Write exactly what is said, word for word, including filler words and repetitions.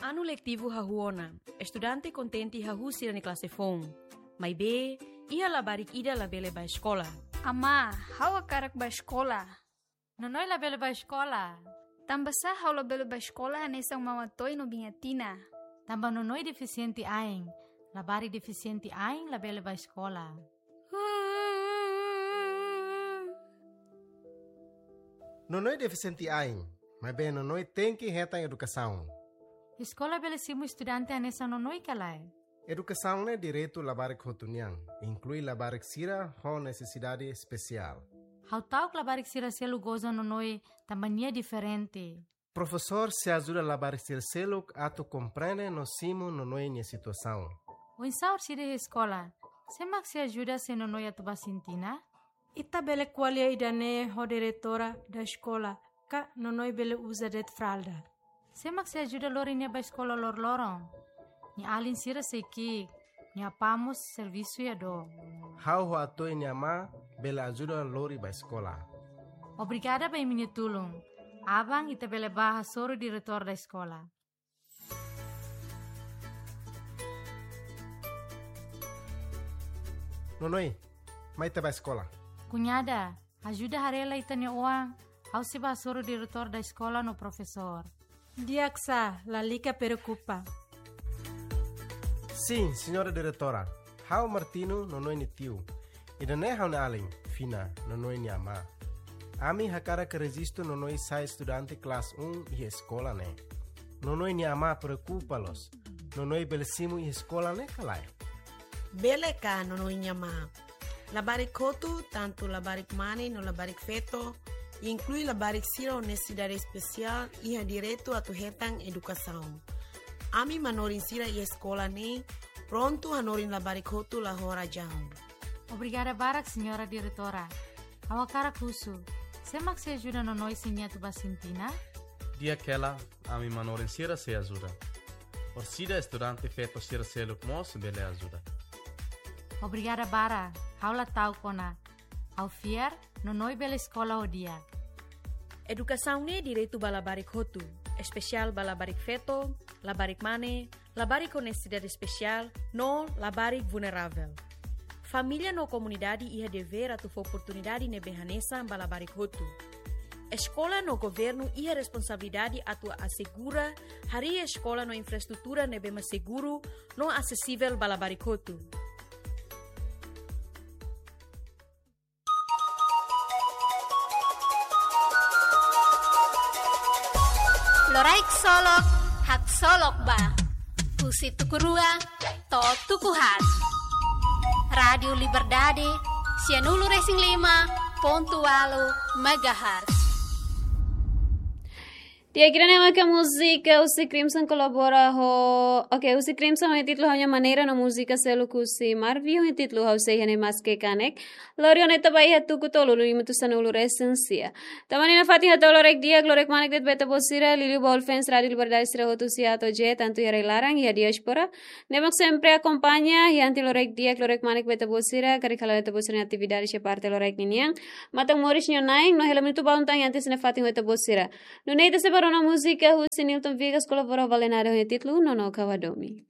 Anu letivu hahú ona, estudante kontente hahú sira-nia klase foun. Maibé, iha labarik ida labele bá eskola. Amá, ha'u hakarak bá eskola. Nonoi labele bá eskola. Tanbasá ha'u labele bá eskola hanesan Maun Atoy no Biin Atina? Tanba Nonoi defisiente ain. Labarik defisiente ain labele bá eskola. Nonoi defisiente ain, maibé Nonoi tenke hetan edukasaun. Eskola bele simu estudante hanesan Nonoi ka lae? Edukasaun ne'e direitu labarik hotu nian, inklui labarik sira ho nesesidade espesiál. Ha'u ta'uk labarik sira seluk goza Nonoi tanba nia diferente. Profesór sei ajuda labarik sira seluk atu komprende no simu Nonoi nia situasaun. Oinsá orsida iha eskola? Sé mak sei ajuda se Nonoi atu bá sintina? Ita bele ko'alia ida-ne'e ho diretora da eskola, ka Nonoi bele uza de'it fralda. Sé mak sei ajuda lori nia bá eskola loroloron? Nia alin sira sei ki'ik, nia apá mós servisu iha dook. Ha'u ho Atoy nia amá bele ajuda lori bá eskola. Obrigada ba imi-nia tulun. Aban ita bele bá hasoru diretór da eskola. Nonoi, mai ita bá eskola. Kuñada, ajuda haree lai ita-nia oan, ha'u sei bá hasoru diretór da eskola no profesór. Di'ak sá, lalika preokupa. Sin, señora diretora. Ha'u Martino, Nonoi nia tiu. Ida-ne'e ha'u-nia alin, Fina, Nonoi nia amá. Ami hakarak rejistu Nonoi sai estudante klase um iha eskola ne'e. Nonoi nia amá preokupa loos. Nonoi bele simu iha eskola ne'e ka lae? Bele ka, Nonoi nia amá. Labarik hotu, tantu labarik mane no labarik feto, inklui labarik sira ho nesesidade espesiál, iha direitu atu hetan edukasaun. Ami manorin sira iha eskola ne'e prontu hanorin labarik hotu la ho razaun. Obrigada barak, señora diretora. Ha'u hakarak husu, sé mak sei ajuda Nonoi se nia atu bá sintina? Di'ak hela, ami manorin sira sei ajuda. Orsida estudante feto sira seluk mós bele ajuda. Obrigada barak, ha'u la ta'uk ona. Ha'u fiar, Nonoi bele eskola ho di'ak. Edukasaun ne'e direitu ba labarik hotu, espesiál ba labarik feto, labarik mane, labarik ho nesesidade espesiál, no labarik vulneravel. Família no komunidade iha devér atu fó oportunidade ne'ebé hanesan ba labarik hotu. Eskola no governu iha responsabilidade atu asegura harii eskola no infraestrutura ne'ebé mak seguru no asesivel ba labarik hotu. Loraik solok, haksolok ba. Husi tuku rua to'o tuku haat. Rádiu Liberdade, sianulu resin lima pontu ualu megahertz. Di'ak, ida-ne'e maka múzika husi Crimson kolabora ho, oke, husi Crimson ho títulu Ha'u-nia Maneira no múzika seluk husi Marvin ho títulu Ha'u Sei Iha Ne'e Maske Kanek. Lori ona ita ba iha tuku tolu, lima atus sanulu resin sia. Tanba ne'e nafatin hato'o loraik di'ak, loraik manek de'it ba ita-boot sira, liuliu ba ulfans Rádiu Liberdade sira hotu husi A to'o Z, tantu iha rai-laran, iha diáspora. Ne'ebé mak sempre akompaña, iha anti loraik di'ak, loraik manek ba ita-boot sira, karik hala'o ita-boot sira-nia atividade iha parte loraik ninian. Matan moris nia na'in, no hela minutu ba untang iha antes nafatin ho ita-boot sira. Nune'e ita sei bá rona múzika husi Nilton Vigas kolabora ho Valenada ho títulu Nono Kawadomi.